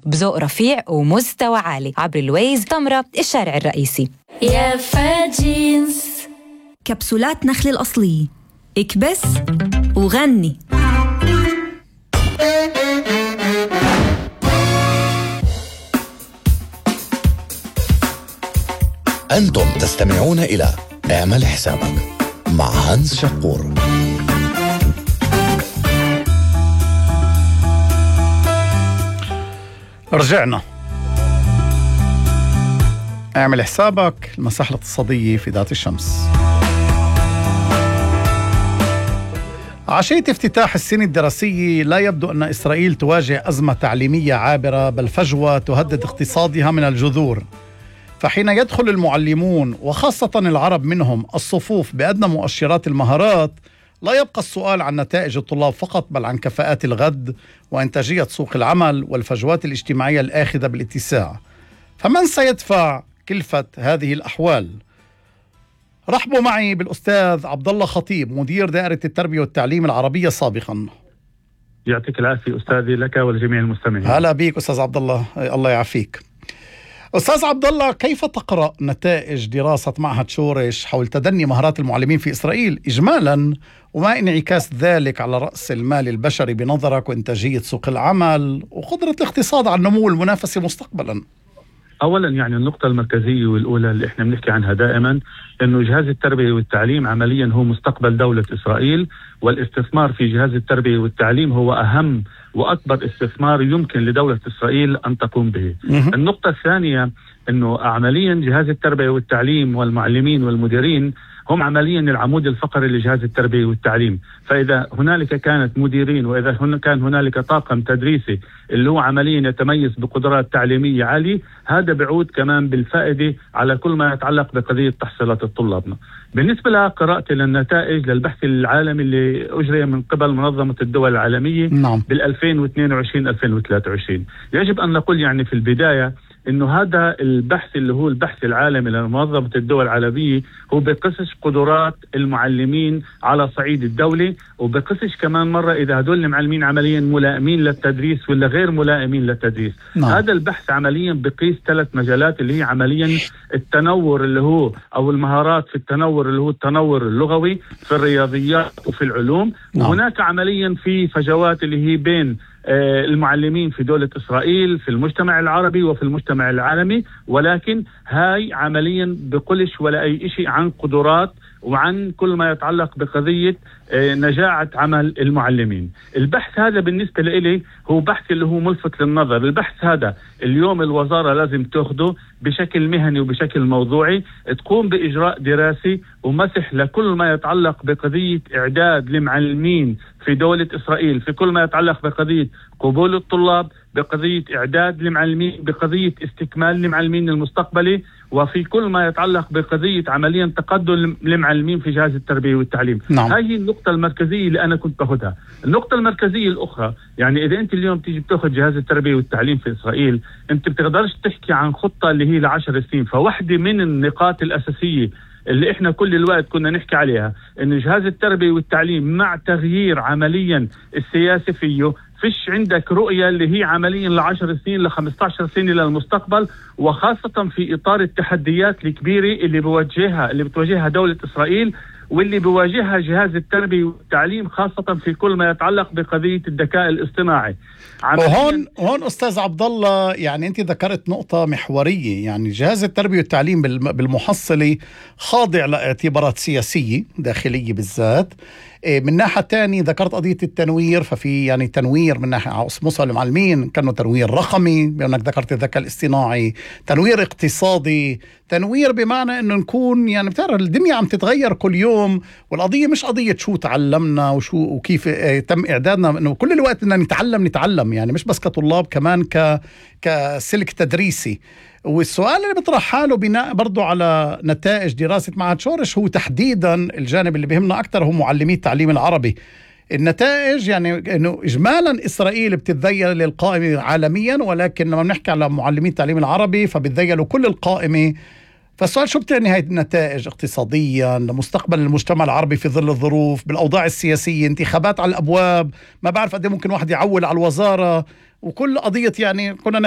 بذوق رفيع ومستوى عالي عبر الويز تمرة الشارع الرئيسي. يا فاجينز كبسولات نخل الأصلية، اكبس وغني. أنتم تستمعون إلى اعمل حسابك مع هانز شقور. رجعنا اعمل حسابك، المساحة الاقتصادية في ذات الشمس. عشية افتتاح السنة الدراسية لا يبدو أن إسرائيل تواجه أزمة تعليمية عابرة، بل فجوة تهدد اقتصادها من الجذور. فحين يدخل المعلمون وخاصة العرب منهم الصفوف بأدنى مؤشرات المهارات، لا يبقى السؤال عن نتائج الطلاب فقط، بل عن كفاءات الغد وإنتاجية سوق العمل والفجوات الاجتماعية الآخذة بالاتساع. فمن سيدفع كلفة هذه الأحوال؟ رحبوا معي بالأستاذ عبد الله خطيب، مدير دائرة التربية والتعليم العربية سابقا. يعطيك العافية أستاذي، لك ولجميع المستمعين. هلا بيك أستاذ عبد الله، الله يعافيك. أستاذ عبد الله، كيف تقرأ نتائج دراسة معهد شورش حول تدني مهارات المعلمين في إسرائيل إجمالا، وما انعكاس ذلك على رأس المال البشري بنظرك وإنتاجية سوق العمل وقدرة الاقتصاد على النمو المنافسي مستقبلا؟ أولا يعني النقطة المركزية والأولى اللي احنا بنحكي عنها دائما إنه جهاز التربية والتعليم عمليا هو مستقبل دولة إسرائيل، والاستثمار في جهاز التربية والتعليم هو أهم وأكبر استثمار يمكن لدولة إسرائيل أن تقوم به. النقطة الثانية إنه عمليا جهاز التربية والتعليم والمعلمين والمديرين هم عمليا العمود الفقري لجهاز التربية والتعليم. فإذا هنالك كانت مديرين وإذا كان هنالك طاقم تدريسي اللي هو عمليا يتميز بقدرات تعليمية عالية، هذا بعود كمان بالفائدة على كل ما يتعلق بقضية تحصيلات الطلاب. بالنسبة لقراءة للنتائج للبحث العالمي اللي أجري من قبل منظمة الدول العالمية بال2022-2023، يجب أن نقول يعني في البداية إنه هذا البحث اللي هو البحث العالمي لمنظمة الدول العربية هو بقصش قدرات المعلمين على صعيد الدولة، وبقصش كمان مرة إذا هدول المعلمين عمليا ملائمين للتدريس ولا غير ملائمين للتدريس. هذا البحث عمليا بقيس 3 مجالات اللي هي عمليا التنور اللي هو أو المهارات في التنور اللي هو التنور اللغوي في الرياضيات وفي العلوم. وهناك عمليا في فجوات اللي هي بين المعلمين في دولة إسرائيل في المجتمع العربي وفي المجتمع العالمي، ولكن هاي عمليا بقولش ولا أي شيء عن قدرات وعن كل ما يتعلق بقضية نجاعة عمل المعلمين. البحث هذا بالنسبة لي هو بحث اللي هو ملفت للنظر. البحث هذا اليوم الوزارة لازم تأخذه بشكل مهني وبشكل موضوعي، تقوم بإجراء دراسي ومسح لكل ما يتعلق بقضية إعداد المعلمين في دولة إسرائيل، في كل ما يتعلق بقضية قبول الطلاب، بقضية إعداد المعلمين، بقضية استكمال المعلمين المستقبلي، وفي كل ما يتعلق بقضية عمليا تقدم المعلمين في جهاز التربية والتعليم. هذه النقطة المركزية اللي أنا كنت باخدها. النقطة المركزية الأخرى يعني إذا أنت اليوم تيجي بتاخد جهاز التربية والتعليم في إسرائيل، أنت بتقدرش تحكي عن خطة اللي هي ل10 سنين. فواحدة من النقاط الأساسية اللي احنا كل الوقت كنا نحكي عليها إن جهاز التربية والتعليم مع تغيير عمليا السياسي فيه فيش عندك رؤية اللي هي عمليا ل10 سنين ل15 سنة للمستقبل، وخاصة في إطار التحديات الكبيرة اللي بتواجهها دولة إسرائيل واللي بيواجهها جهاز التربية والتعليم، خاصة في كل ما يتعلق بقضية الذكاء الاصطناعي. وهون أستاذ عبد الله، يعني أنت ذكرت نقطة محورية، يعني جهاز التربية والتعليم بالمحصلة خاضع لاعتبارات سياسية داخلية بالذات. من ناحية تانية ذكرت قضية التنوير، ففي يعني تنوير من ناحية على مستوى المعلمين، كانوا تنوير رقمي بأنك ذكرت الذكاء الاصطناعي، تنوير اقتصادي، تنوير بمعنى أنه نكون يعني بتعرف الدنيا عم تتغير كل يوم، والقضية مش قضية شو تعلمنا وكيف تم إعدادنا، أنه كل الوقت بدنا نتعلم يعني مش بس كطلاب، كمان كسلك تدريسي. والسؤال اللي بيطرح حاله بناء برضو على نتائج دراسة معهد شورش هو تحديدا الجانب اللي بيهمنا أكتر هو معلمي التعليم العربي. النتائج يعني إنه إجمالا إسرائيل بتتذيل للقائمة عالميا، ولكن لما بنحكي على معلمي التعليم العربي فبتذيلوا كل القائمة. فالسؤال شو بتعني هاي النتائج اقتصاديا لمستقبل المجتمع العربي في ظل الظروف بالأوضاع السياسية، انتخابات على الأبواب، ما بعرف قد ممكن واحد يعول على الوزارة، وكل قضية يعني كنا نحكي